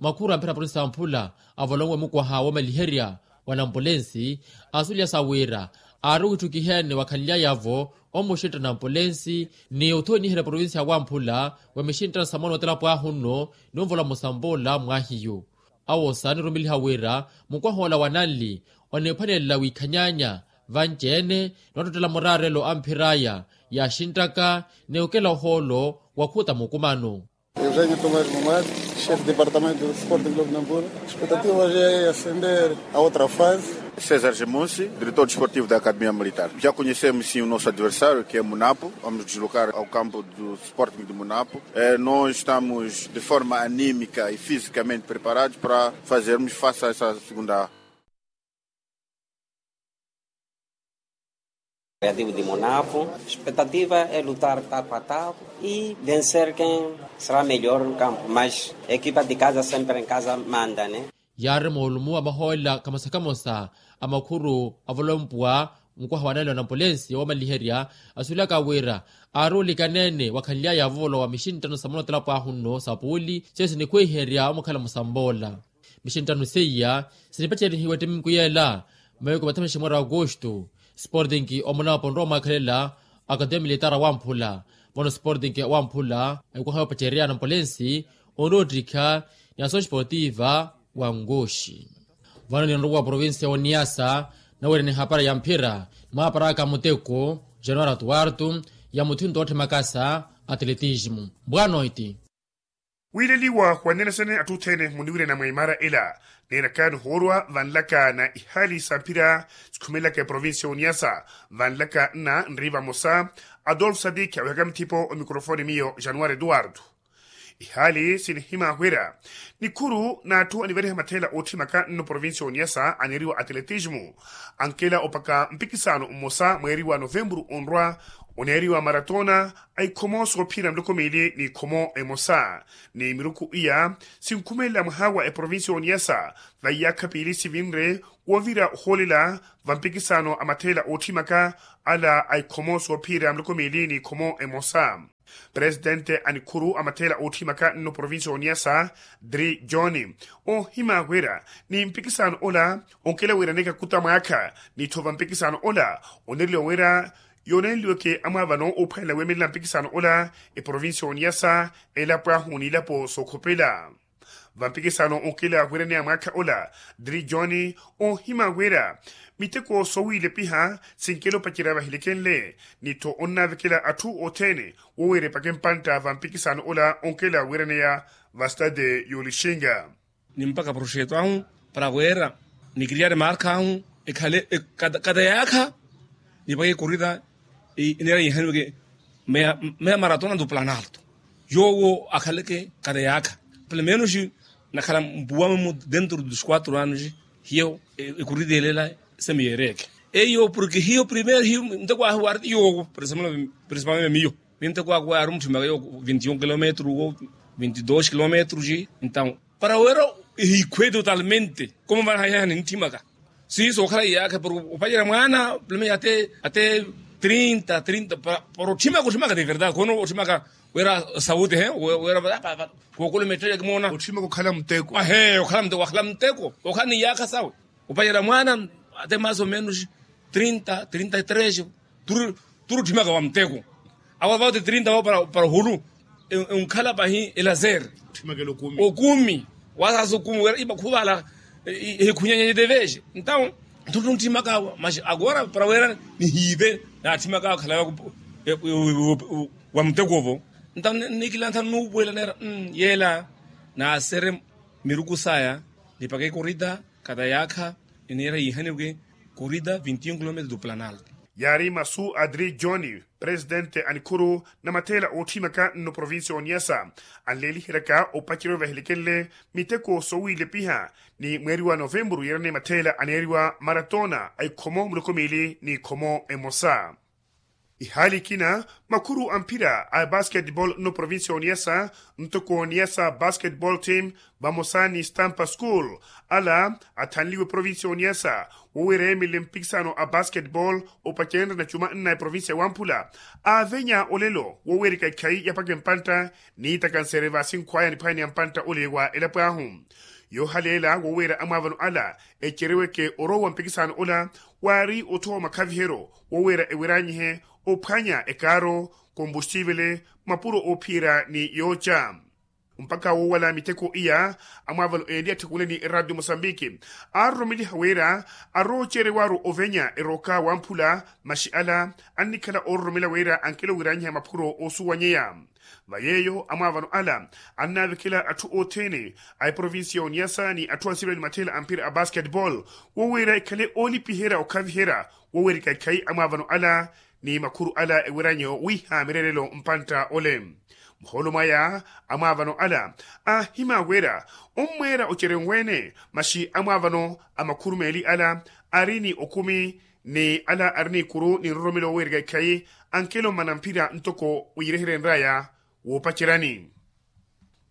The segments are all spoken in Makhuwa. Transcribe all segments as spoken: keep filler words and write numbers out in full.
Makhuru a mphira provinsi ya mphula avolonwe mukwaha woomaliherya wa nampulensi, asulyasa wira aari witthukiheene wakhanlyaya-vo omuxintta nampulensi ni othooniherya provinsi ya wamphula wa mixinttano sa moona otelapo ahu nno, ni onvola musambola mwahiyu. Awosa anirumeliha wira mukwaha ola wa nanli oniphwanelela wiikhanyaanya vanci-ene ni wattottela muraarelo a mphir'aya yaaxinttaka ni okela ohoolo wakhuta mukumano. Eugenio Tomás Mumar, chefe departamento do Sporting Clube Nampula. Expectativa já é ascender a outra fase. César Gemusi, diretor desportivo da Academia Militar. Já conhecemos sim o nosso adversário, que é Munapo. Vamos deslocar ao campo do Sporting de Munapo. Eh, nós estamos de forma anímica e fisicamente preparados para fazermos face a essa segunda. Criativo de Monapo, expectativa é lutar taco a taco e vencer quem será melhor no campo, mas a equipa de casa sempre em casa manda, né? Yaari moolumo a mahoolela kamosa kamosa a makhuru avolompuwa mukwaha wa nali wa nampulensi woomaliherya, asuwelaka wira aari olikaneene wakhanly'aya vovolowa mixinttano sa moona otelapo ahu nno sa puuli, seiyo sinikhwiherya omukhala musamboola. Mixinttano seiya sinipaceryihiwa ettiminku yeela, mawiku mathamaxe mwaari wa agosto. Sporting omonapo onrowa omwaakhelela akademia militara wamphula. Vano sporting wamphula ekwaha yoopacerya nampulensi onroottikha ni asoxi esportiva wa nkoxi. Vano ninrowa provinsi ya oniyasa nawerya ni hapara ya mphira ni mwaaparaka muteko januwari atuwartu ya muthinto otthimakasa atletismo. Bwanoiti. Wiileliwa wanene sene atthu othene muniwirena mwa imara ela, neeraka nihoorwa vanlaka na ihali sa mphira sikhumelaka eprovinsi ya oniyasa. Vanlaka nna nri vamosa adolfo sadiki awehaka mithipo omikrofoni miyo januwari eduwardo. Ihali sinihimya wira nikhuru n'atthu aniveriha matheela ootthimaka nno provinsi ya oniyasa aneeriwa atletismo, ankela opaka mpikisano mmosa mweeri wa novempuru onrwa oneeriwa maratona a ikhomo soophira miloko miili n'ikhomo emosa. Ni miruku iya sinkhumelela mwaha wa eprovinsi ya oniyasa va iyaakha piili sivinre wovira ohoolela va mpikisano a matheela ootthimaka ala a ikhomo soophira miloko miili n'ikhomo emosa. Presitente a nikhuru a matheela ootthimaka nno provinsi ya oniyasa dri john, oohimya wira ni mpikisano ola onkela wiiraneke akuta mwaakha, ni-tho va mpikisano ola oneereliwa wira yoonenliweke amwaavano oophwanela weemelela mpikisano ola eprovinsi ya oniyasa, elapo ahu n'ilapo sookhopela. Va mpikisano onkela wiiraneya mwaakha ola dri john oohimya wira miteko soowiilepiha sinkela opacerya vahilikenle, ni-tho onnavekela atthu othene wowiira epaka empantta va mpikisano ola onkela wiiraneya va stade y'olixinga. Ni mpaka proxeto ahu para wira ni kiriyari marka ahu ekhale kata yaakha. Ni paka ekorita eneera yihaniweke meya maratona do planalto yoowo akhaleke kata yaakha. Pelo menos nakhala mpuwa memu dentro dos quatro anos hiyo ekorita elela semiyereeke. Eyo porke hiyo primero hiyo nteko ahu warti yoowo. Principalmente miyo minto kwaku waaru mutthimaka yo vinti un kilometru wo vinti dos kilometru ji. Entaw para wira ehikhwe totalmente komo vana hayaha nintthimaka. Siiso okhala iyaakha para opacerya mwaana pulume ate ate trinta trinta para otthimaka otthimaka de verdade kono otthimaka wira sauti he wira kookolomettela kimoona otthimaka okhala muteko ahe okhala muteko wakhala muteko okhala ni iyaakha sawe. Opacerya mwaana ate mas o menos trinta trinta e tres turi otthimaka wa muteko. Awo avawati trinta awo para ohulu enkhala pahi elazer okumi wasaasa okumi wira imakhuvala ehikhunyanya deveje. Entaw turi otthimaka awo mas agora para wira nihiive naatthimaka awo khala wa muteko ovo. Entaw nikilantha nuupuwela neera yeela naasere miruku saya nipaka ekorita kata yaakha eneera yiihaniweke korita vinti un kilometru do planalto. Yaari masu a dri john presitente a nikhuru na matheela ootthimaka nno provinsi ya oniyasa anleeliheryaka opacerya ovahelekenle miteko soowiilepiha ni mweeri wa novempuru yeerane matheela aneeriwa maratona a ikhomo muloko miili n'ikhomo emosa. Ihaali ikina, makhuru a mphira a basketball nno provincia y'oniyasa, ntoko oniyasa basketball team, vamosa ni stampa school, ala athanliwe provincia y'oniyasa, woweera yeemelele mpikisano a basketball opacenrya na cuma nna eprovincia ya wamphula, aavenya olelo woweerika ikhayi yapaka empantta, niitakanseerye vaasinkhwaya niphwanya ni ampantta ole wa elapo ahu. Yoohaleela woweera amwaavano ala, ecereweke orowa wa mpikisano ola, waari otthowa makhaviheryo, woweera eweryanyihe, ophwanya ekaaro, kombustiivele, mapuro oophiyerya ni yooca. Mpakha woowala miteko iya, amwaavano eenli atthikuule ni eradio mosambiki, aaroromeliha wira, aroocerewaru ovenya erooka wamphula, maxi ala, annikhala oororomela wira ankelo wiranyiha maphuro oosuwanyeya. Va yeeyo amwaavano ala, annaavikela atthu othene, a eprovincia y'oniyasa ni atthu ansivela ni matheela a mphira a basketball, woweera ekhale oolipiherya okhaviherya, woweerika ikhayi amwaavano ala, ni makhuru ala eweryanyeyo wiiha mireerelo mpantta ole. Muhoolo mwaya, amwaavano ala, aahima wira, ommweera ocerenweene, maxi amwaavano a makhuru meeli ala, ari ni okumi, ni ala ari n'ikuru ni nroromelo woweerika ikhayi, ankelo mmana mphira ntoko wiireherenry'aya, woopaceryani.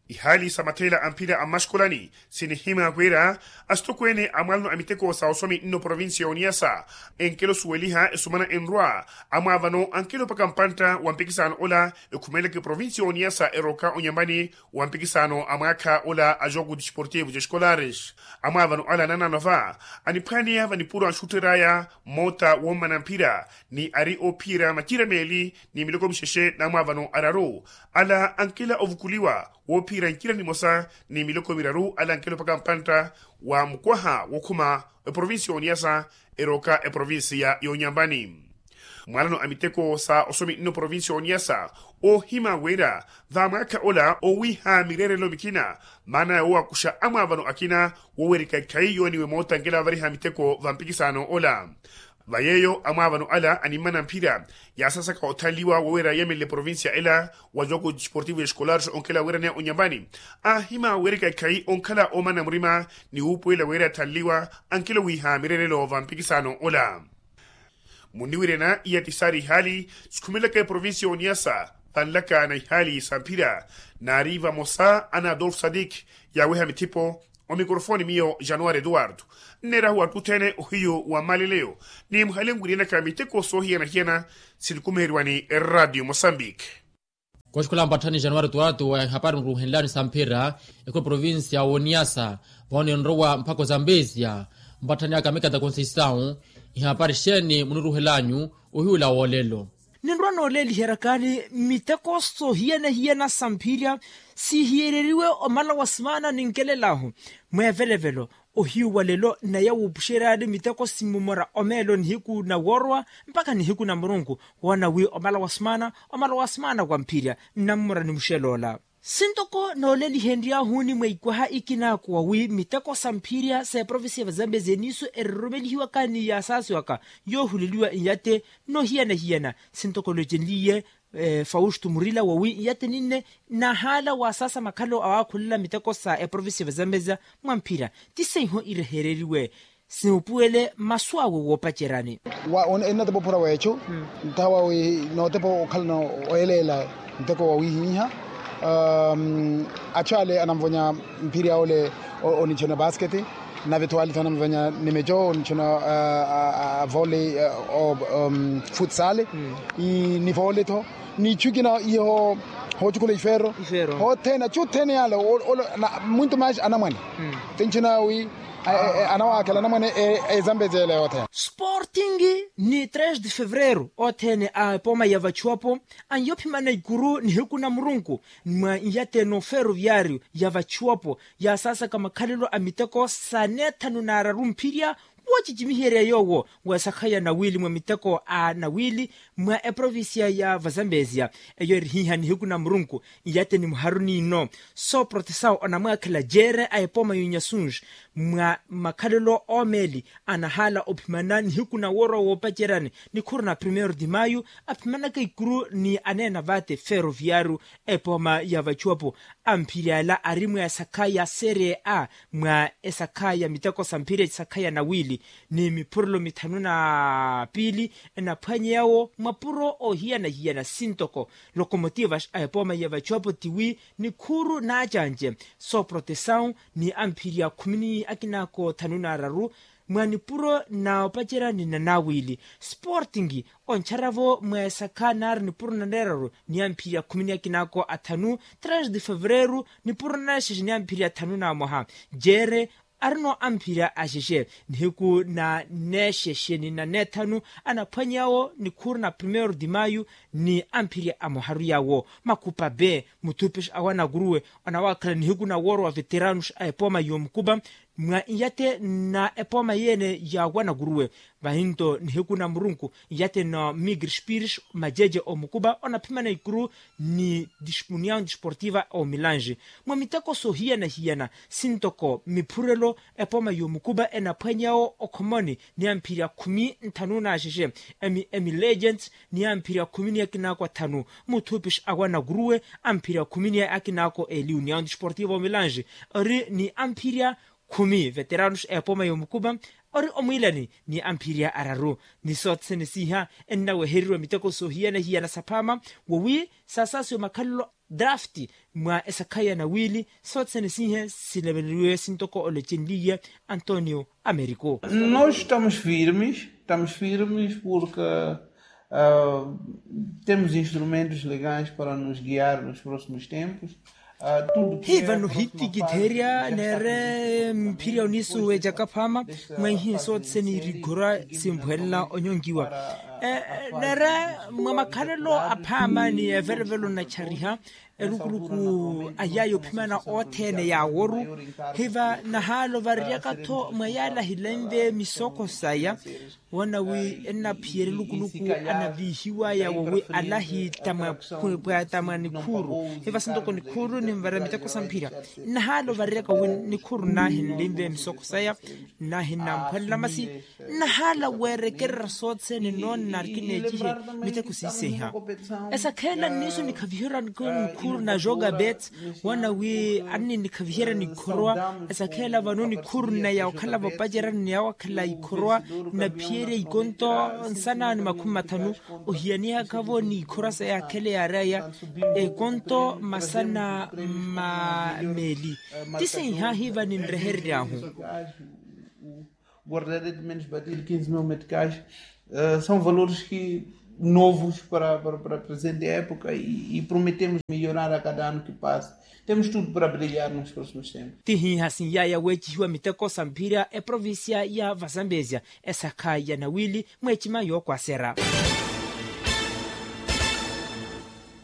Ihaali sa matheela a mphira a mmaxikolani, sinihima wira, asitokweene a mwalano a miteko sa osomi nno provincia y'oniyasa, enkelo osuweliha esumana enrwa, amwaavano ankelo opaka mpantta wa mpikisano ola, ekhumeleke provincia y'oniyasa erooka onyambani, wa mpikisano a mwaakha ola a jogo desportivo de escolares. Amwaavano ala nananova, aniphwaneya vanipuro anxuttery'aya, moota wommana mphira, ni ari oophiyerya macira meeli, ni miloko mixexe n'amwaavano araru, ala ankela ovukuliwa, woophiyerya ncira nimosa, ni miloko miraru ala ankela opaka mpantta, wa mukwaha wookhuma, eprovincia y'oniyasa, erooka eprovincia y'onyambani. Mwalano a miteko sa osomi nno provincia y'oniyasa, oohima wira, va mwaakha ola owiiha mireerelo mikina, maana yoowakuxa amwaavano akina, woweerika ikhayi yooniwe moota nkela avariha miteko va mpikisano ola. Va yeeyo amwaavano ala animmana mphira, yaasaasaka othanliwa woweera yeemelele provincia ela, wa jogo desportivo escolares onkela wiiraneya onyambani, aahima weerika ikhayi onkhala oomana murima, ni wuupuwela weera athanliwa, ankelo wiiha mireerelo va mpikisano ola. Munniwiryana iya ti saari ihaali, sikhumelaka eprovincia y'oniyasa, vanlaka na ihaali sa mphira, naari vamosa ana adolfo sadik, yaaweha mithipo, omikorofoni miyo januari eduwardo. Nneerahu atthu othene ohiyu wa mmaleleyo, ni muhale nwiryanyaka miteko soohiyana-hiyana, sinikumiheriwa ni eradio mosambiki. Koxikola mpatthani januari tuwaratu wa ehapari mururuhenlani sa mphira, ekulu provincia woniyasa, voone nrowa mphako za mbesia, mpatthani aka mikata konseisau, ihapari xeeni muniruhelanyu, ohiwula wolelo. Ninrowa nooleeliheryakani miteko soohiyana-hiyana sa mphira, sihiyereriwe omala wa simaana ninkelel'ahu, mweevelevelo, ohiyu wa lelo naya wuupuxeryani miteko simmumora omeelo nihiku na woorowa, mpakha nihiku na murunku, woona wi omala wa simaana, omala wa simaana wa mphirya nnammora ni muxeloola. Sintoko noolelihenry'ahu ni mweikwaha ikinakowa wi miteko sa mphirya sa eprovincia va zambezia niiso eriroromelihiwaka ni yaasaasiwaka, yoohuleliwa nyate, noohiyana-hiyana sintoko loocenliye, fausto murila wawi nyate ninne, nahaala waasaasa makhalelo awaakhulela miteko sa eprovincia va zambezia, mwa mphira ti seiho irehereriwe, sihupuwele masu awe woopaceryani. Wa ennattepa ophura w'ecu, nthawa wi nootepa okhalana oyeleela nteko wawihiha. Achu ale anamvonya mphiri awole, onichona basketi, nave tho ale tho anamvonya nimecho onichona vole, futsale, ni vole tho. Ni ichu ikina iho hochukula ifero. Hothene achu othene yale, mwinto mashi anamwane. Tinchina wi anawaakhela anamwane ezambezi ele yothene. Sporting ni tres de fevereiro othene a epoma ya vachuapo, anyophimana ikuru nihiku na murunku mwa nyate no feroviario ya vachuapo, yasaasaka makhalelo a miteko sa neethanu na araru mphirya, woocicimiherya yoowo weesakhaya nawili mwa miteko a nawili mwa eprovincia ya vazambezia. Eyo erihiha nihiku na murunku nyate ni muharu niino, sooprotesawo onamwaakhela jeere a epoma y'onyasunji mwa makhalelo oomeeli, anahaala ophimana nihiku na woorowa woopaceryani ni khuru na primeiro de maio, aphimanaka ikuru ni aneena vaate feroviario, epoma ya vachuapo. Amphirya ala ari mwa esakha ya serie a mwa esakha ya miteko sa mphirya esakha ya nawiili ni miphurelo mithanu na piili enaphwanyeyawo mapuro oohiyana-hiyana sintoko lokomotivas a epooma ya vachuapo tiwi nikhuuru naacanci sooprotesawu ni amphirya khumi ni akinaako thanu na araru mwa nipuro na opacerya ni nanawili sporting onchara-vo mwa esakha naari nipuro na neeraru ni amphirya khumi ni akinaako athanu tres de fevereru nipuro na neexexe ni amphirya thanu na mwaha jeere arino amphirya axexe nihiku na neexexe ni na neethanu anaphwanyawo nikhuuru na primeiro de maio ni amphirya amoharu yawo makupa be muthupixa awa nakuruwe anawaakhala nihiku na wooro wa veteranos a epooma y'omukupa mwa iyate na epooma yeene ya wanakuruwe vahinto nihiku na murunku iyate na migre spires majeje omukupa onaphimana ikuru ni união desportiva omilange mwa miteko soohiyana-hiyana sintoko miphurelo epooma y'omukupa enaphwanyawo okhomoni ni amphirya khumi nthanu na axexe emi emi legends ni amphirya khumi ni akinaako athanu muthupixa awa nakuruwe amphirya khumi ni akinaako eli união desportiva omilange ori ni amphirya khumi veteranos epooma y'omukupa ori omwiilani ni amphirya araru ni sothene siiha ennawehereriwa miteko soohiyana-hiyana saphaama wowi sasaasiwe makhalelo draft mwa esakha ya nawiili sothene siiha silemeleriwe sintoko olocenliye antonio americo. Nós estamos firmes, estamos firmes porque temos instrumentos legais para nos guiar nos próximos tempos. Hivano hitikitherya neere mphirya oniisuwejaka phaama mwa ihiye sothene irikhorwa simpwelela onyonkiwa neere mwa makhalelo aphaama ni evelevelo nachariha elukuluku a yaya ophimana othene yaaworu hiva nahaala ovareryaka-tho mwa yaala hilenve misoko saya woona wi ennaphiyerya elukuluku anaviihiwaya wowi alahi ta mwa pwaata mwa nikhuuru hiva sintoko nikhuuru ninvarya miteko sa mphirya nnahaala ovareryaka wi nikhuuru nnahi nlinve misoko saya nnahi nnamphwanela masi nnahaala weerekererya sothene noonna kineecihe miteko siiseha esakheela nniiso nikhaviherya nikhuuru na jogabet woona wi anni nikhaviherya nikhorowa esakheela vano nikhuuru nneya okhala vopacerya nneya okhala ikhorowa nnaphiyerya ikonto nsana ni makhumi mathanu ohiyanihaka-vo ni ikhorowa sa yakhele yaaraya ekonto masana ma meeli ti siihahiva ninreherery'ahu. Guardarei de menos batir quinze mil meticais são valores que novos para a presente época e prometemos melhorar a cada ano que passa. Temos tudo para brilhar nos próximos tempos. Tihiiha sinyaaya weecihiwa miteko sa mphirya eprovincia ya vazambezia esakha ya nawili mweecima yookwasera.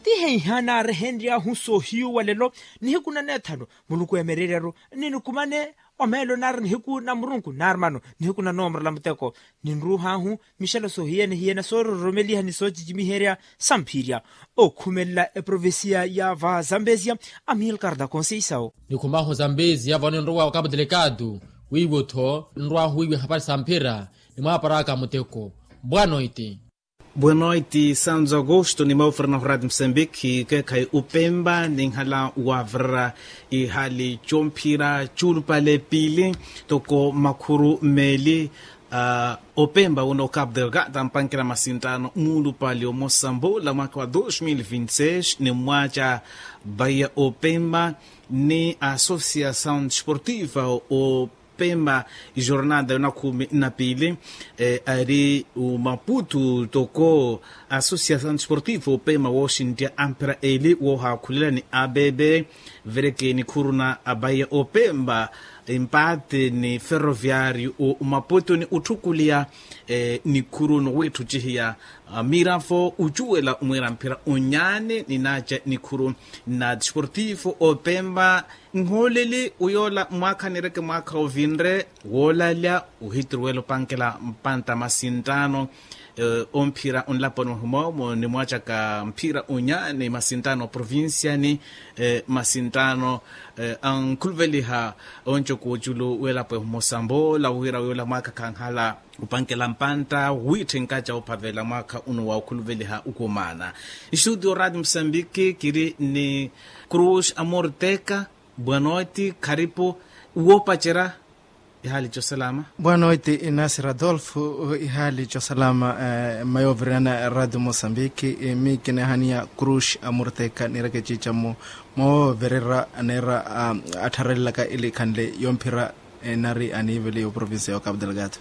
Tiheiha naarehenry'ahu soohiyu wa lelo nihiku na neethanu muluku emereryaru ninikumane omeelo naari nihiku na murunku naari mano nihiku na noomorela muteko ninruuh'ahu mixelo soohiyene-hiyene soororomeliha ni soocicimiherya samphirya okhumelela eprovincia ya vazambezia amilcar da conceição. Nikhumahu zambezia vano ninrowa okapo delikatu wiiwo-tho ninrwahu wiiwe hapari samphira nimwaaparaka muteko. Bwanoiti. Bwanoiti santo agosto ni maufrana hurati msambiki keekhayi upemba ninhala wavirira ihali comphira culupale piili toko makhuru meeli. Opemba uno capo delgado ampankela masintano muulupale omosambola mwaka wa dos mil vinti seis ni mmwaca baiya opemba ni associação desportiva o pemba ijornada yonakhumi na piili ari umaputu toko associação desportiva opemba wooxinttiya amphira eli woohaakhulela ni abebe vereke nikhuru na abaiya opemba empate ni ferroviario o umaputu ni utthukuliya nikhuru nowiitthucihiya miravo ucuwela omwiira mphira onyaani ninaaca nikhuru na desportivo opemba nhooleli uyoola mwaakha nireke mwaakha ovinre woolalya ohitiruwela opankela mpantta masinttaano Omphira onlaponi wahimoomo nimwaacaka mphira onya ni masinttaano provinciani, masinttaano ankhuluveliha oncoka oculu welapo ehumosa mboola wira wiola mwaakha khanhala opankela mpantta wiitthenkaca ophavela mwaakha uno wa okhuluveliha okumaana. Nxuti oraati musambiki kiri ni cruz amorteka. Bwanoiti kharipu woopacerya. Ihaali cosalama. Bwanoiti inasi radolfo. Ihaali cosalama. Mmayooviriyana radio mosambiki. Miikinehaniya cruz amorteka niireke ciicamo moovirira neera attharelelaka ilikhanle yomphira nari aniiveliya oprovincia ya ocabo delgado.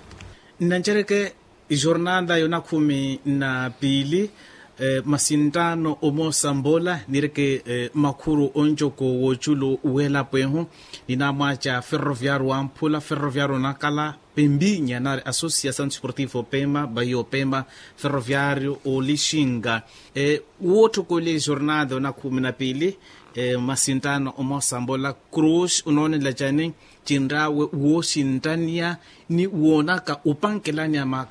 Nnancereke ijornada yonakhumi na piili. Masinttaano omoosa mboola niireke makhuru oncoko wooculu w'elapo ehu. Ninamwaaca ferroviario wamphula ferroviario onakala pembinya nari associação desportiva opema baia opema ferroviario olixinga. Wootthokoleya ijornada yonakhumi na piili. Masinttaano omoosa mboola cruz onoonela cani? Cinraawe wooxinttaniya ni woonaka opankelaniya ma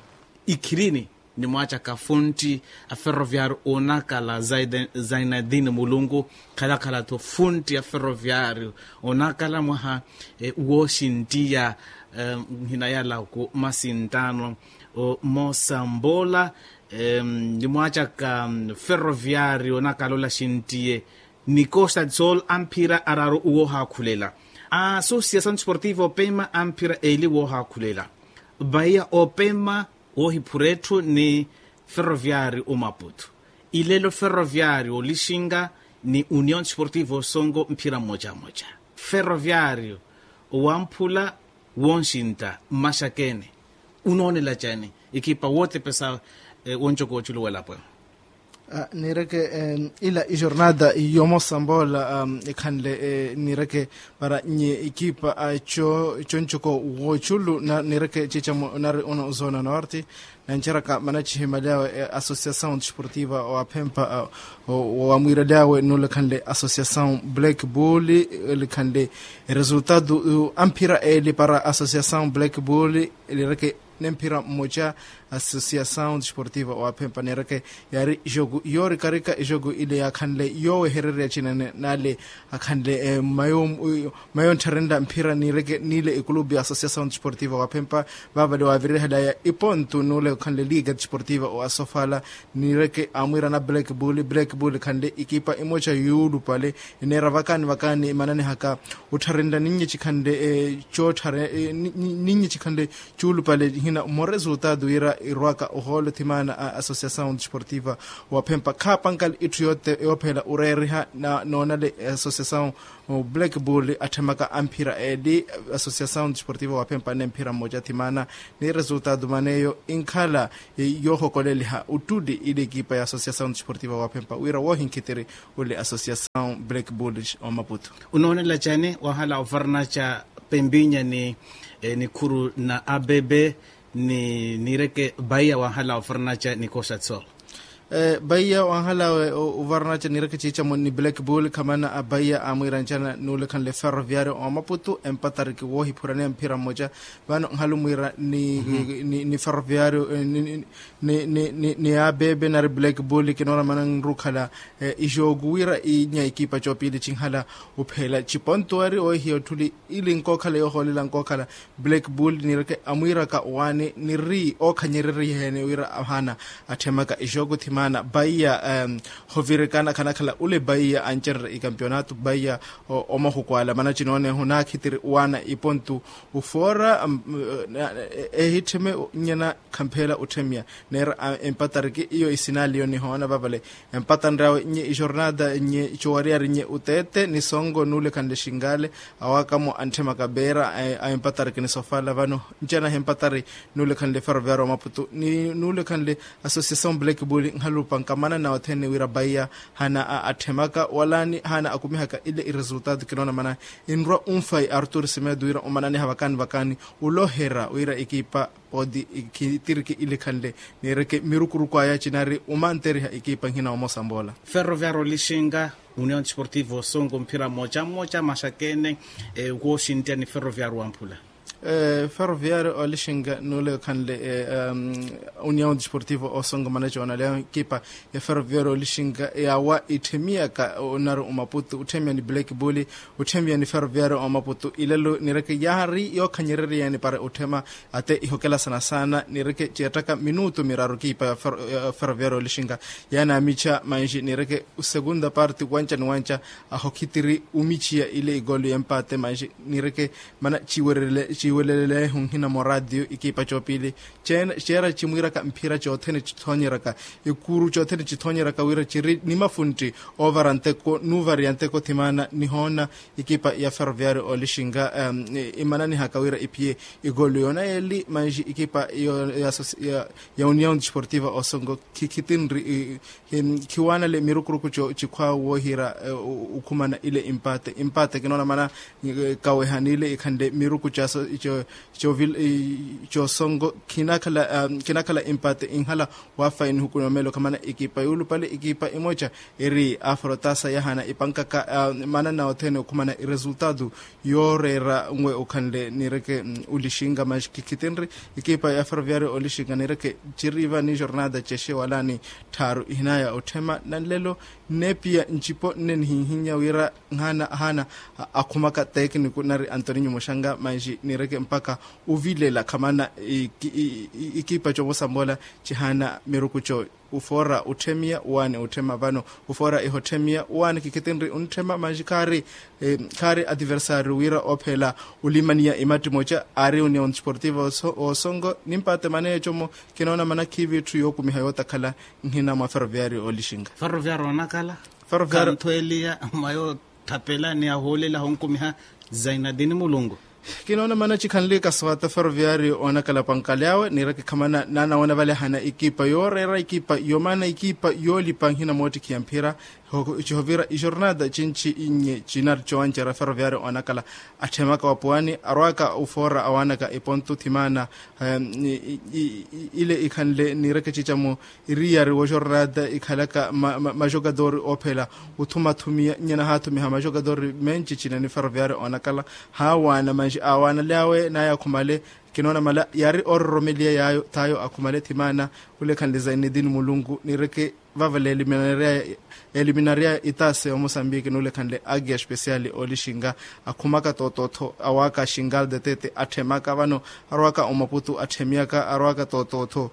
ikhirini. Nimwaacaka fontti a ferroviario onakala zainadini mulunku. Khalakhalatthu fontti a ferroviario onakala mwaha wooxinttiya. Nhinayala ku masinttaano moosambola. Nimwaacaka ferroviario onakala ola xinttiye ni costa de sol amphira araaru woohaakhulela. A associação desportiva opema amphira eeli woohaakhulela. Baia opema woohiphura etthu ni ferroviario omaputu. Ilelo ferroviario olixinga ni união desportiva osongo mphira mmocamoca. Ferroviario owamphula wonxintta mmaxakeni. Unoonela cani ikipa wootepesa woncoko wooculu w'elapo ehu? Niireke ila ijornada yomosa mboola ekhanle niireke para nye ikipa concoko wooculu niireke ciicamo nari uno zona norte. Nanceraka mana cihimaly'awe associação desportiva waphempa wamwiiraly'awe nuulekhanle associação black bull. Likhanle resultado amphira eeli para associação black bull lireke nemphira mmoca. Associação desportiva waphempa neereke yaari jogo yoorikarika jogo ile yaakhanle yoowehererya cinene n'ale akhanle mayo nttharenla mphira niireke n'ile ekulupu ya associação desportiva waphempa. Vaavale waavirihela ya ipontu n'ule okhanle liga desportiva wa sofala niireke amwiirana black bull black bull khanle ikipa imoca yuulupale. Eneera vakaani vakaani emananihaka ottharenla ninnye cikhanle cootthare ninnye cikhanle cuulupale hina mmoresultado wira irwaka ohoolo thimana a associação desportiva waphempa khaapankale itthu yoothe yoophela oreeriha noonale associação black bull atthemaka amphira eeli associação desportiva waphempa nemphira mmoca thimana. Ni resultado maneyo inkhala yoohokoleliha ottuli ile ekipa ya associação desportiva waphempa wira woohinkhitiri ole associação black bull omaputu. Unoonela cani wahala ovarnaca pembinya ni nikhuru na abebe ni niireke baiya wahala ovarnaca ni koxatso. Baiya wahala ovarnaca niireke ciicamo ni black bull khamana abaiya amwiirancana nuulekhanle ferroviario omaputu empatariki woohiphuraniya mphira mmoca. Vano nhalumwiira ni ferroviario ni abebe nari black bull kinoona mana nrukhala ijooku wira inya ekipa coopili cinkhala ophela cipontuwari ohiya otthuli ili nkookhala yoohoolela nkookhala black bull niireke amwiiraka owaani niri ookhanyereriheene wira ahaana atthemaka ijooku thimana baiya hovirikana khanakhala ule baiya ancererya ikampionato baiya omahuku ala mana cinooneho naakhitiri owaana ipontu ofoora ehittheme nyena khamphela otthemiya neera empatariki iyo isinaliyo nihoona vavale empatanryawe nye ijornada nye cowariyari nye uteete ni songo nuulekhanle xingale awakamo antthemaka beera a empatariki ni sofala vano ncanahi empatari nuulekhanle ferroviario wa maputu ni nuulekhanle associação black bull nhalupanka manana othene wira baiya hana atthemaka wala ni hana akumihaka ile iresultado kinoona mana inrwa unfai artur simedo wira omananiha vakaani vakaani oloherya wira ekipa podi ikitiriki ilikhanle niireke mirukuruku aya cinari omanteriha ekipa nhina omosa mboola. Ferroviario lixinga union desportivo songo mphira mmoca mmoca maxakene wooxinttiya ni ferroviario wamphula. Ferroviario olixinga nuule okhanle union desportivo osongo manacoona leo ekipa ya ferroviario olixinga yaawa itthemiyaka onari omaputu utthemiya ni black bull, utthemiya ni ferroviario omaputu ilelo nireke yaari yookhanyereriyani para utthema. Ate ihokelasana saana nireke ceettaka minutu miraru ekipa ya ferroviario olixinga yaanaamicha manji nireke segunda parte wanca ni wanca ahokhitiri umichiya ile igolu y'empaate manji nireke mana ciwelelelehu nhina mwa radio ikipa coopili. Ceera cimwiiraka mphira coothene cithoonyeraka ikuru coothene cithoonyeraka wira ciri ni mafuntti oovara nteko nuuvariya nteko thimaana nihoona ikipa ya ferroviario olixinga imananihaka wira iphiye igolu yoona yeeli manji ikipa ya union desportiva osongo khikhitinri khiwaanale mirukuruku cikhwaawe woohira okhumana ile impaate impaate kinoona mana kaweha niile ikhanle miruku coosongo khinakhala impaate inhala waafayi nihuku nomeelo khamana ekipa yoolupale ekipa emoca eri afrotasa yahana ipankaka manana othene okhumana iresultatu yooreera nwe okhanle nireke olixinga mas khikhitinri ekipa ya ferroviario olixinga nireke ciriva ni jornada cexe wala ni tthaaru ihinaya otthema nanlelo nneepiya ncipo nne nihinhinya wira nhaana akhumaka tekniku nari antoninyo muxanga manji nireke mpaka ovilela khamana ikipa comosambola cihaana miruku co ufoora utthemiya waani utthema vano ufoora ihotthemiya waani khikhitinri untthema manji khaari khaari ativersario wira oophela olimaniya imatti moca aari union desportiva osongo nimpaate maneeco-mo kinoona mana khiivi itthu yookumiha yootakhala nhina mwa ferroviario olixinga ferroviario onakala khanthweeliya mwa yootthapela ni ahoolela ahonkumiha zainadini mulungu kinoona mana cikhanle kaswata ferroviario onakala pankali awe niireke khamana naanawoona vale ahana ekipa yooreera ekipa yomaana ekipa yoolipa nhina moottikhiya mphira cihovira ijornada cinci inye cinari cowancerya ferroviario onakala atthemaka wapuwani arwaaka ufoora awaanaka epontu thimaana ile ikhanle niireke cicamo iriyari wojornada ikhalaka majokatori oophela othumathumiya nyana haathumiha majokatori menci cina ni ferroviario onakala haawaana manji aawaanaly'awe naye akhumale kinoona mala yaari oororomeliya yaayo thaayo akhumale thimaana ule khanle zainedini mulunku niireke vavale eliminaria eliminaria itase omosambiki nuule khanle agia especial olixinga akhumaka tootootho awaaka xingal detete atthemaka vano arwaaka omaputu atthemiyaka arwaaka tootootho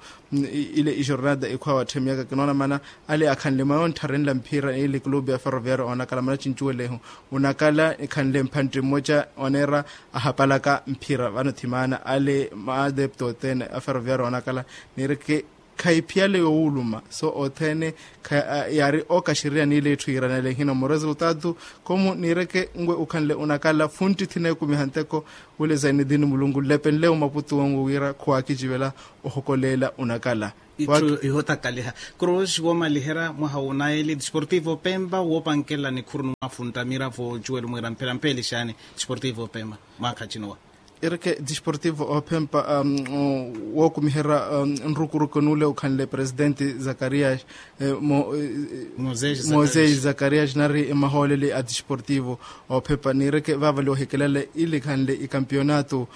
ile ijornada ikhwaawe atthemiyaka kinoona mana ale akhanle mwa yoontharenla mphira ile clube ya ferroviario onakala mana cincuwelehu onakala ekhanle mphantti mmoca oneera ahapalaka mphira vano thimaana ale maadepto othene a ferroviario onakala niireke khayiphiyale yoowuluma so othene yaari okaxiriya niile etthu yiiranele ehina muresultatu komu niireke nwe ukhanle unakala funtti thineekumiha nteko wule zainedini mulunku nlepenle omaputu onwe wira khuwaakicivela ohokoleela unakala itthu ihotakaliha cruz woomaliherya mwaha wunaeli desportivo pempa woopankela nikhuru ni mwafuntta miravo ocuwelo mwiira mphira mpeelixaani desportivo pempa mwaakha cinowa ireke desportivo ophempa wookumiherya nrukuruku nuule ukhanle presidenti zakarias mosesi zakarias nari mahooleli a desportivo ophempa niireke vaavali ohikelele ili khanle ikampionato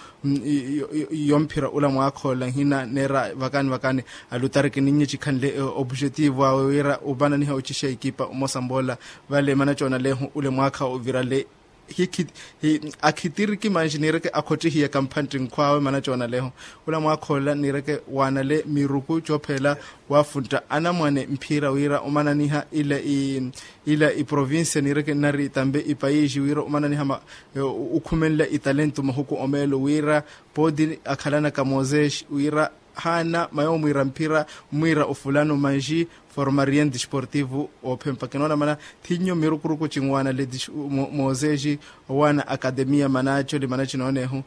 yomphira ula mwaakha ola nhina neera vakani vakani alutariki ninnye cikhanle opujetivo awe wira opananiha ocixa ikipa omosa mboola vale mana coonalehu ule mwaakha ovirale akhitiriki manji niireke akhottihiyaka mphantti nkhwaawe mana coonaleho ula mwaakhoolela niireke waanale miruku coophela waafuntta anamwane mphira wira omananiha ila iprovincia niireke nnari tambe ipayiixi wira omananiha okhumenla italento mahuku omeelo wira pooti akhalanaka moses wira haana mayo omwiira mphira omwiira ofulano manji formarien desportivo oophempa kinoona mana thinnyo mirukuruku cinwaana le mosesi owaana akatemiya manacoli mana cinoonehu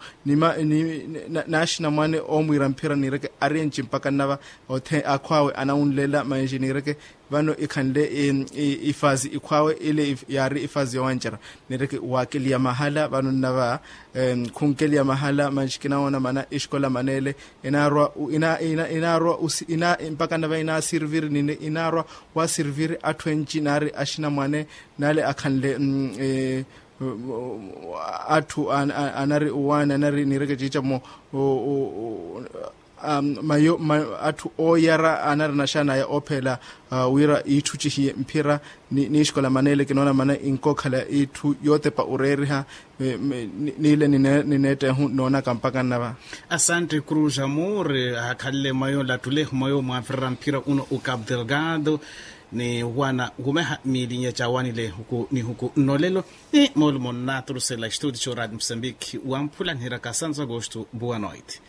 naaxinamwane oomwiira mphira niireke ari enci mpaka nnava akhwaawe anawunlela manji niireke vano ikhanle ifazi ikhwaawe ile yaari ifazi yowancerya niireke waakeliya mahala vano nnava khunkeliya mahala manji kinawoona mana exikola maneele inaarwa mpaka nnava inaasiriviri nini inaarwa waasiriviri atthu enci naari axinamwane naale akhanle Atthu anari owaani anari niireke ciicamo. Mayo atthu ooyara anari naxanaya oophela wira iitthu cihiye mphira. Niixikola maneele kinoona mana inkookhala iitthu yootepa oreeriha. Niile nineettehu noonaka mpaka nnava. Asantte cruz amour. Akhanle mayo lattule mayo mwavirira mphira uno u cape delgado ni wana wumeha miilinya cawanile huku ni huku nnolelo. Ni moolumo nnaaturusela estudio radio mosambiki wamphula nihiraka santo agosto boa noite.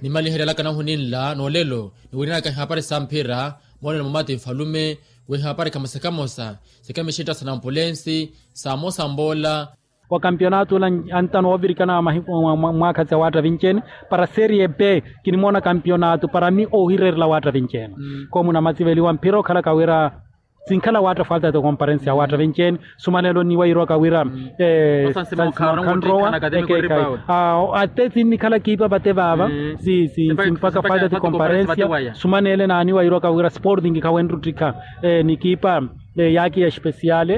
Nimaliherelaka nahu ninla n'olelo niwirinaka ihapari sa mphira. Moonelo mumati nfalume w'ihapari khamosa khamosa sikamixitta sa nampulensi sa mosa mboola. Wa kampionato ula antano oovirikana mwaakha sa waatta vinci ene para serie b. Kinimoona kampionato para mi oohireerela waatta vinci ene. Koomu namatsiveliwa mphira okhalaka wira sinkhala waatta falta de comparensi ya waatta vinci ene. Sumanelo niwa yiirwaka wira sansimawo khanrowa. Ate sinnikhala kiipa vate vaava simpaka falta de comparensi ya sumanele naaniwa yiirwaka wira sporting khawenruttikha ni kiipa yaakiya espesiale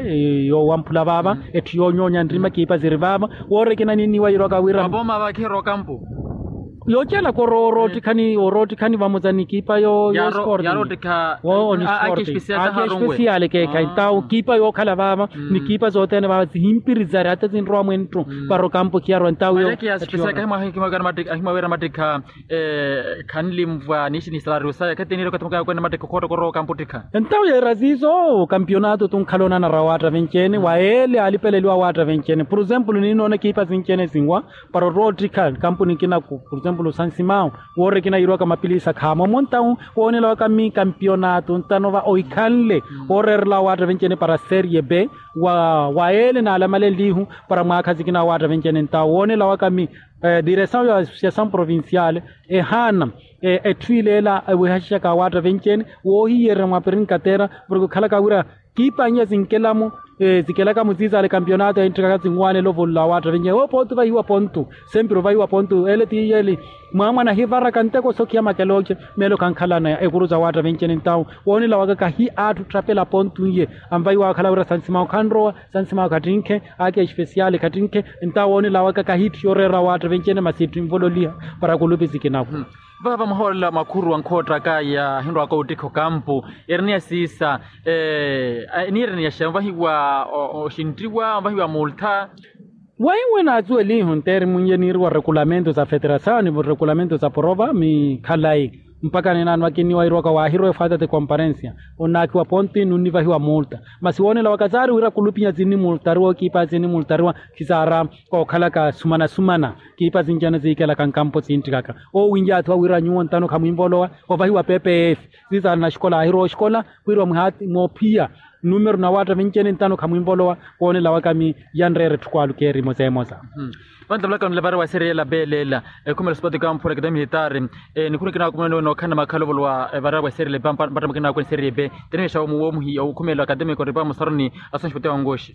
yoowamphula vaava. Etthu yoonyoonya nrima kiipa ziri vaava. Woorekina ninniwa yiirwaka wira yoocelaka oroottikhani oroottikhani vamosa ni kiipa yo sporting. Aakiya espesiale keekhayi ntawo kiipa yookhala vaava ni kiipa sothene vaava sihimpiri zari ata sinrowa mwenttu. Para okampo khiyarwa ntawo yo. Khanlimvwa niishi ni salariyo saya khatiniire okathi mukaya kwene mattekha okhootta okorowa okampo ottikha. Entawo yeera siiso kampionato tunkhala onanara waatta vinci ene wa ele alipeleliwa waatta vinci ene por exemplo ninoona kiipa sinci ene sinwa para orottikha kampuni kinaku por exemplo sansimao. Woorikina yiirwaka mapilisa khaamo omo entawo woonela waka mi kampionato ntanova ohikhanle ooreerela waatta vinci ene para serie b wa ele naalamalenlihu para mwaakha sikina waatta vinci ene entawo woonela waka mi diresaw ya associasaw provincial ehaana etthu ileela ewehaxixaka awaatta vinci ene woohiyererya mwa pirinkatera porke okhalaka wira kiipa n'iya sinkelamo sikelaka mutsiisaale kampionato entthikaka sinwaanela ovololo awaatta vinci ene woopooti ovahiwa pontu. Sempiri ovahiwa pontu ele ti yeli mwaamwana ahivaraka nteko sokhiya makelooce meelo khankhalana ekuru sa waatta vinci ene ntawo woonela waka kahi atthu otthapela pontu n'iye anvahiwa akhala wira sansimawo khanrowa sansimawo khattinkhe aakiya espesiale khattinkhe. Ntawo woonela waka kahi itthu yooreera waatta vinci ene masi itthu invololiha para kulupi sikinaku. Vaava muhoolela makhuru ankhoottaka yaahinrwaka ottikha okampu ereniya siisa eniireniyaxa onvahiwa oxinttiwa onvahiwa multha. Waiwe naatsuwelihu nteeri munye niiriwa rekulamentu sa federasaw ni rekulamentu sa porova mi khalayi mpaka ninaano akinniwa yiirwaka waahirwa efaata ti komparensiya onnaakiwa ponti nunnivahiwa multa. Masi woonela waka saari wira kulupinya sinnimultariwa okiipa sinnimultariwa khisaara kookhalaka sumana sumana kiipa sinci ene siikelaka nkampo sinttikaka oowinyaathiwa wira nyuwo ntano khamwinvolowa ovahiwa pepe eefi. Sisaana xikola aahirwa oxikola wira mwihaati moophiya numero na waatta vinci ene ntano khamwinvolowa. Woonela waka mi yanreera etthu kwaalu keerimo seemosa. Vantamulaka nlevara wa serie ela belela ekhumela sipoti kamphula akademi militari. Nikhuna kinaakumi nookhala na makhalovolo wa evara wa serie ela mpatta mukinaakumi serie ebe tenimexa woomuhiya okhumela akademi koripa musaruni. Asonxi poti wangoxi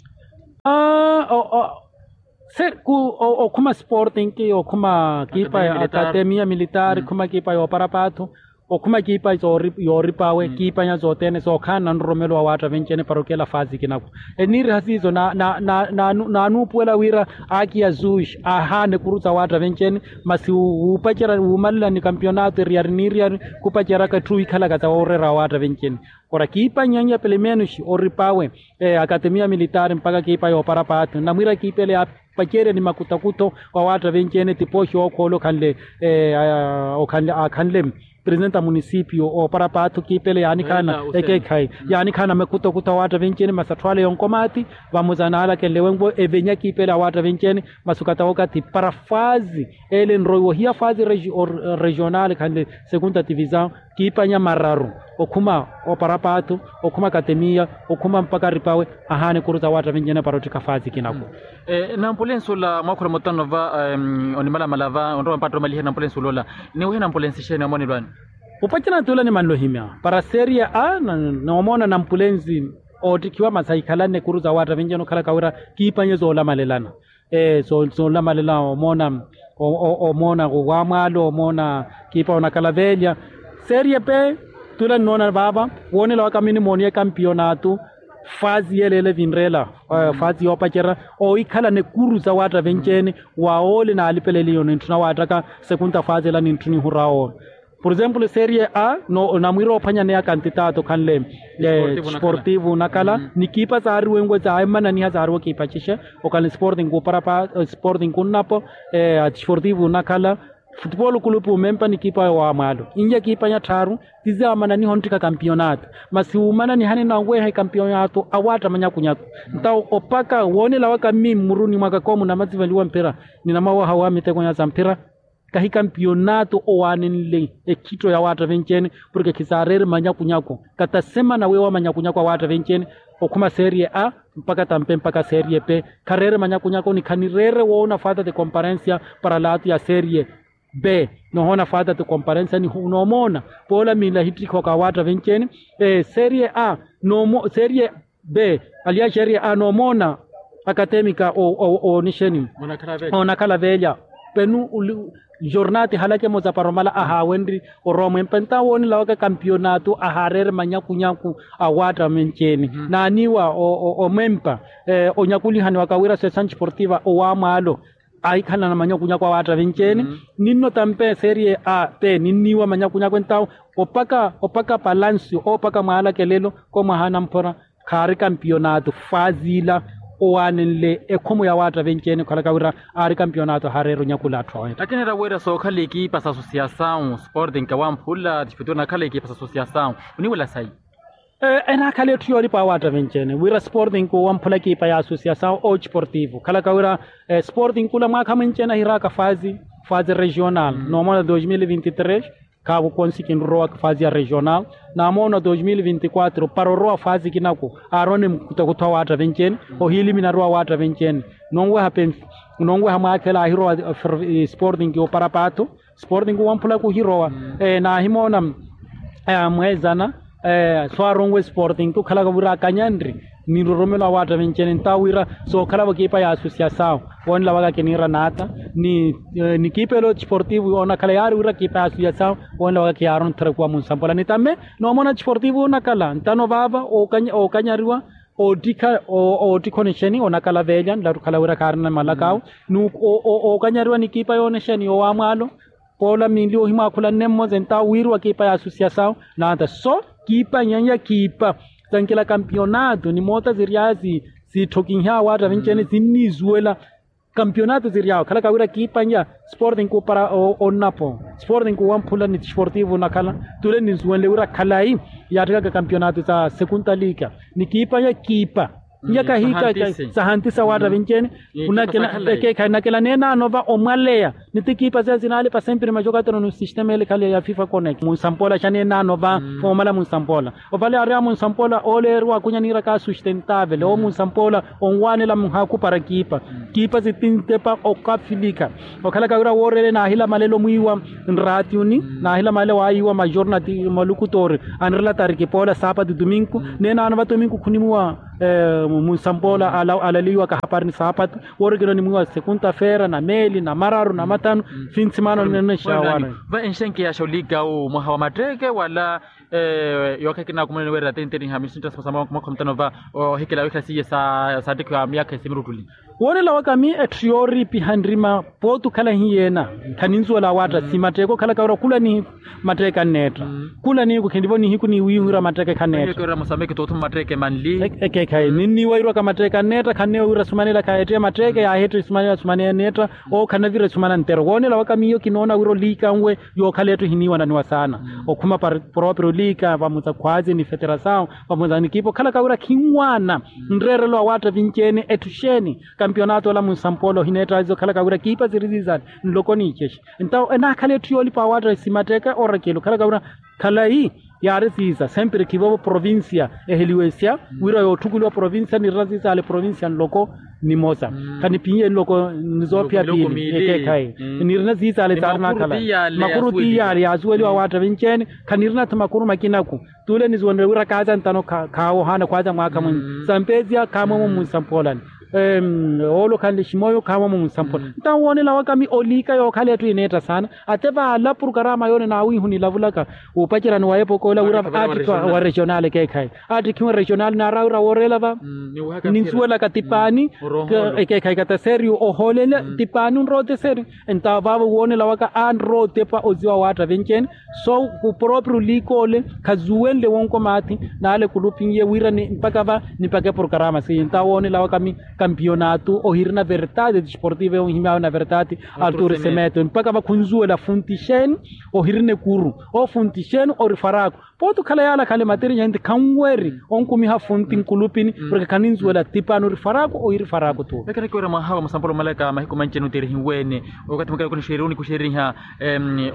okhuma sporting okhuma kiipa ya akademiya militari khuma kiipa yoopara paathu okhuma kiipa yooripa awe kiipanya sothene sookhaana na nroromelo wa waatta vinci ene para okela faasi kinaku. Eniiriha siiso naanuupuwela wira aki ya zush aahaana ekuru sa waatta vinci ene masi wuupacerya wuumalela ni kampionato eriyari n'iriyari khupaceryaka etthu ohikhalaka sa wooreera wa waatta vinci ene. Ora kiipa nyanyi ya pelemenos oripa awe akatemiya militari mpakha kiipa yoopara paathu nnamwiira kiipa ele yaapacerya ni makutakutho wa waatta vinci ene tipooxi ookhoolo okhanle okhanle aakhanle presidente a munisipio oopara paathu kiipa ele yaanikhaana ekeekhayi yaanikhaana makutakutho a waatta vinci ene masi atthu ale yonkomaati vamosa naalakenle wenwo evenya kiipa ele a waatta vinci ene. Masi okatawokathi para faazi ele enroiwa ohiya faazi regional khanle segunda tivisaw kiipanya mararu okhuma oparapaathu okhuma katemiya okhuma mpaka ripawe ahaana ekuru sa waatta vinci ene para ottikha faasi kinaku. Nampulensi ola mwaakhula mutano va onimalamala va onrowa mpatta omaliherya nampulensi ola ola niwehe nampulensi xeeni omonelwani? Opacana tula nimanlohimya para seria a noomona nampulensi oottikhiwa masi ahikhalanne ekuru sa waatta vinci ene okhalaka wira kiipanye soolamalelana soolamalela omoona omoona wamwaalo omoona kiipa onakalavelya. Serie pe tula nnoona vaava woonela waka minimooniye kampiyonatu Faazi yeleele vinreela faazi yoopacerya, oohikhalana ekuru sa waatta venci-ene. Wa ole naalipeleliyo nintthuna waattaka sekunta faazi ela nintthuna ihurwa ole. Por exemplo serie a, namwiira oophwanyaneya kantitato khanle sportivo nakhala nikiipa saariwenwe saamananiha saariwa kiipa cixe. Okhala ni sporting kuparapa sporting kunnapo sportivo nakhala futupolo kulupu mempa nikiipa yowamwaalo. Inya kiipa ya tthaaru, ti saamananiha onttikha kampionato masi wumananihani nanweha ekampionato awaatta manyakunyaku. Ntawo opaka woonela waka mmi mmuruni mwaka koomu namasivaliwa mphira, ninamawaha wa miteko nya sa mphira. Kahi kampionato owaanenle ekhitto ya waatta venci-ene. Porke khisaareere manyakunyaku kata semana weewa manyakunyaku awaatta venci-ene. Okhuma serie a mpaka tampe mpaka serie pe khareere manyakunyaku ni khanireere woona faata ti komparensia para laato ya serie b. Nohoona faata ti komparensia ni noomoona poola miila ahittikha waka awaatta venci-ene. Serie a serie b aliya serie a noomoona akatemika oonixeni oonakhala veelya penu jornal ti halakemo za paromala ahaawenri orowa mwempa ntawo woonela waka kampionato ahaareere manyakunyaku awaatta menci-ene naaniiwa omwempa onyakulihani waka wira sessan sportiva owamwaalo. Ahikhalana manyakunyaku awaatta venci-ene ninno tampe serie a pe ninniiwa manyakunyaku entawo opaka opaka palancio opaka mwaalakelelo ko mwaha anamphora khaari kampionato faazi ila owaanenle ekhomo ya waatta venci-ene okhalaka wira aari kampionato ahaareera onyakula atthu aweetta. Akineera wira sookhala ekiipa sa asosiasawu sporting kawamphula tispeturu nakhala ekiipa sa asosiasawu oniwela sayi. Enaakhala etthu yoolipa awaatta venci-ene wira sporting kuwamphula ekiipa ya asosiasawu otisportivo khalaka wira sporting kula mwaakha mwenci-ene ahiraaka faazi faazi regional noomona dos mil vinti tres. Khaavo konsi kinrurowaka faazi ya regional naamoona dos mil vinti quatro para orowa faazi kinaku aarowa ni mukutakuta awaatta venci-ene ohiilimina arowa awaatta venci-ene. Nonweha penfi nonweha mwaakha ela ahirowa sporting opara paatho sporting wamphula kuhirowa. Naahimoona mweezana so aronwe sporting okhalaka wira akanyanri ni nroromelo awaatta venci-ene ntawo wira sookhalavo kiipa ya asosiasawu woonela waka kiniira naata ni kiipa elo sportivo onakhala yaari wira kiipa ya asosiasawu woonela waka kiyaarontherekuwa munsampola ni tamme noomona sportivo onakhala ntano vaava ookanyariwa oottikha oottikha onexeni onakhala veelya nlattukhala wira khaarina malaka awe ni ookanyariwa ni kiipa yoonexeni yowamwaalo. Poola minli ohimwaakhula nne mmosa entawo wiiriwa kiipa ya asosiasawu naata so kiipa nyanya kiipa sankela kampionato ni moota siryaya siitthokinhya awaatta venci-ene sinniisuwela. Kampionato siryaya okhalaka wira kiipa nya sporting kuupara onnapo sporting kuwamphula ni sportivo nakhala tule ninsuwenle wira khalayi yaattikaka kampionato sa sekunta liika ni kiipa nya kiipa nya kahiika sahantisa waatta venci-ene. Ekeekhayi nakela neenaano va omwaleya ni ti kiipa seya sinaalipa sempre majokatero ni sistema ele khale ya fifa connect munsampola xa neenaano va omala munsampola ovale aari a munsampola ooleeriwa akunya niiraka sustentavele oo munsampola onwaanela muhaaku para kiipa kiipa sitintepa okafilika. Okhalaka wira wooreele naahila malelo mwiiwa nraatiuni naahila malelo waayiiwa majornati malukutoori anirela tariki poola saapatu tuminku neenaano va tuminku khunimwiwa munsampoola alaliwaka hapari ni saapatu woorikina onimwiwa sekunta feera na meeli na mararu na mathanu. Finsimaana onenexaawara va enxenkeyaxa oliikau mwaha wa matteeke wala yookha ekinaakumuleni weerera tentenihami sintta sa mwakha mutano va ohikela wikhala siiye saattikhiwa myaakha esimirutuli. Woonela waka mi etthu yooriipiha nrima pooti okhala hiyeena khaninsuwela awaatta si matteeke okhalaka wira khula ni matteeke anneetta khula niiku khinrivo nihiku ni wiihurya matteeke khanneetta. Ekeekhayi ninniiwa irwaka matteeke anneetta khanneewa wira sumanela khaheettiye matteeke yaaheettiye sumanela sumanela anneetta. Ookhanavira esumana nttero woonela waka miyo kinoona wira oliikanwe yookhala etthu ehiniiwananiwa saana okhuma proprio oliika vamosa khwaazi ni feterasawu vamosa ni kiipa okhalaka wira khinwaana nreerelo awaatta vinci-ene etthu xeeni. Kampionato ola munsampoola ohineettazi okhalaka wira kiipa siri siisale nloko ni icexi. Ntawo enaakhala etthu yoolipa awaatta simatteeka orakelo okhalaka wira khalayi yaari siisa sempre khivovo provincia eheliwesya wira yootthukuliwa provincia nirina siisale provincia nloko nimosa khanipihiye nloko ni soophiyaphiya ekeekhayi nirina siisale saari naakhala makuru tiyaari yaasuweliwa awaatta vinci-ene. Khanirina-tho makuru makinaku tule nisuwenrye wira kaaza ntano khaawohaana khwaaza mwaakha mwinyi sampesiya khaamwemo munsampoolani. Oolo okhanle ximoyo khaamwa munsampula. Ntawo woonela waka mi oliika yookhala etthu ineetta saana. Ate vaala purukaraama yoole naawiihu nilavulaka, wuupacerani wa epokoola wira attikhiwa wa regional ekeekhayi. Attikhiwa regional naara wira wooreela va. Ninsuwelaka tipaani. Ekeekhayi kata seriyo ohoolela tipaani onrowa ote seriyo. Entawo vaavo woonela waka anrowa otepa oziwa waatta venci-ene. So ku proprio liikoole khazuwenle wonko maathi. Naale kulupinye wira ni mpakha va nipakhe porokarama siiye ntawo woonela waka mi kampiyonatu ohirina vertati disportiva onhimyaawe na vertati. Alturi semeto mpakha va khunzuwela funti xeeni. Ohirina ekuru ofunti xeeni ori faraku. Pooti okhala yaala khale materi nyenti khanweri onkumiha funti nkulupini. Porke khaninzuwela tipani ori faraku ohiri faraku tu. Vekherekiwera mwaha wa musampolo omalaka mahiku manci enutirihiwene. Okathi mukela kunixeriwunikuxeriha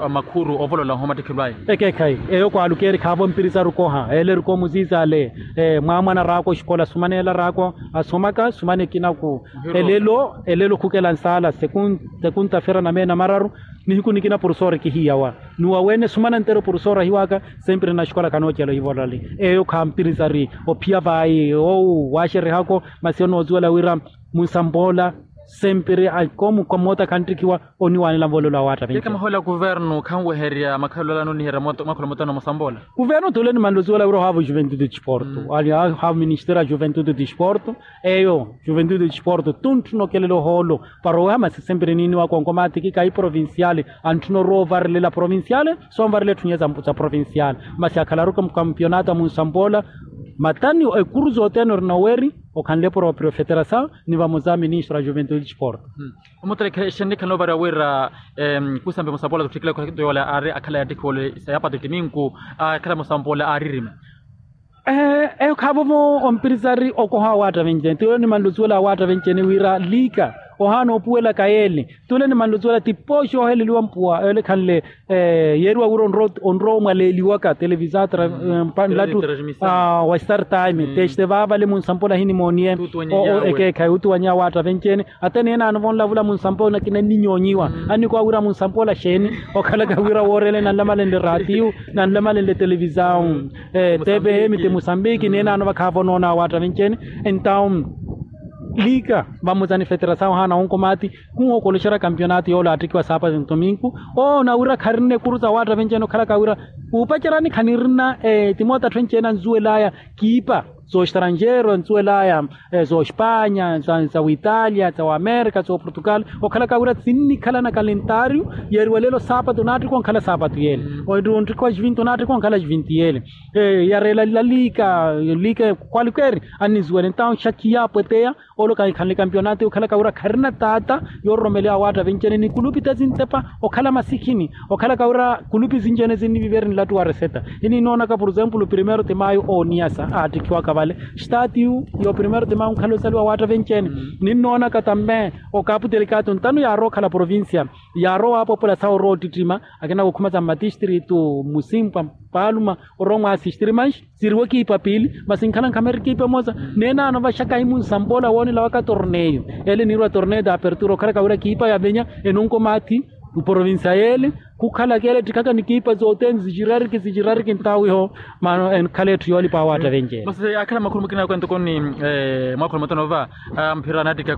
makhuru ovolola ohomattekhelwaya. Ekeekhayi eyo kwaalukeeri khaavo mpirisaru koha eele erikomuziiza ale. Mwaamwana raako oxikola sumana ela raako asomaka sumana ekinaku. Elelo elelo khukela nsaala. Sekunta fera na meena mararu. Nihiku nikina porusora kihiyawa. Ni wawene sumana nteru porusora ahiwaka. Sempre na xikola khanoochela ohivolali eyo khampirisari. Ophiya vayi owu waaxerihako masi onoozuwela wira munsampoola. Sempre akomu kamoota khanttikhiwa oniwaanela nvolelo awaattakhenci. Keka mahoola kuvernu khanweherya makhalolano oniherya mwakholo mootano musampoola. Kuvernu tule nimanlozuwela wira ohaavo juventude disporto. Ohaavo ministeri a juventude disporto. Eyo juventude disporto tuntthuna okelela ohoolo. Para oweha masi sempre niiniwaka onkomaatiki kahi provinciale. Antthuna orowa ovarilela provinciale. Sonvarela etthu nyuwe za provinciale. Masi akhalaru kampionato a munsampoola. Matani ekuru zothene ori noweri. Okhanle proprio federasaw ni vamoza ministro a juventude disporto. Omuterekhe exennikhala novariwa wira kusampe musampoola tutthikile khula kito yoola aari akhala yaattikhiwa ole sayapato timinku. Akhala musampoola aaririma. Eyo khaavovo ompirisari okoha awaatta venci-ene tiyo nimanle osuwela awaatta venci-ene wira liika ohaana opuwelaka yeele. Tule nimanle osuwela tipooxi oheleliwa mpuwa yoole ekhanle. Yeeriwa wira onrowa omwaleeliwaka televisata mpanlatu wa star time teste vaavale munsampoola ahinimooniye. Ekeekhayi utuwanya awaatta venci-ene. Ata neenaano vonlavula munsampoola nakina nninyoonyiwa. Annikowa wira munsampoola xeeni okhalaka wira wooreela nanlamalenle ratiyu nanlamalenle televisawu. Tepehemite musambiki neenaano vakhaavonoona awaatta venci-ene. Entawu liika vamuza ni federasaw ohaana wonkomaati. Khuhookoloxerya kampionato yoole aattikiwa saapati ntominku. Oona wira kharina ekuru za waatta venci-ene okhalaka wira kuupacerani khanirina timoota atthu enci-ene anzuwelaya kiipa zooxtranjero anzuwelaya zooxpanya za witalia za wamerika zooportugal. Okhalaka wira sinnikhala na kalentario yeeriwa lelo saapatu naattikwa onkhala saapatu yeele. Onttiko a juvinti onaattikwa onkhala juvinti yeele. Yareela laliika liika kwalikeeri annizuwela entawu xakhi yaapweteya. Olo kankhanle kampionato okhalaka wira kharina taata yoororomeleya awaatta venci-ene ni kulupi ta sintepa okhala masikhini. Okhalaka wira kulupi sinci-ene sinnivivereni latu wa reseta. Ininoonaka por exemplo primero de mayo ooniyasa aattikhiwaka vale. Statiyu yo primero de mayo onkhala osaliwa awaatta venci-ene. Ninnoonaka tambe okapu telekato ntano yaarowa okhala provincia. Yaarowa waapopola sawa orowa ottittima akina kukhuma sa mmatistritu musimpwa paluma orowa omwaasistiri manxi. Siriwe kiipa piili masi nkhala nkhameri kiipa emosa. Neenaano vaxaka himunsampoola woonela waka torneyo ele niirwa torneyo de apertura okhalaka wira kiipa yavenya enonko maathi. Provincia yeele khukhalaka ele ettikhaka ni kiipa zothene zixirariki zixirariki ntawiho. Mano enkhala etthu yoolipa awaatta venci-ene. Masi akhala makhulu mukina ako entokoni mwakholo mothano va mphira anattikha.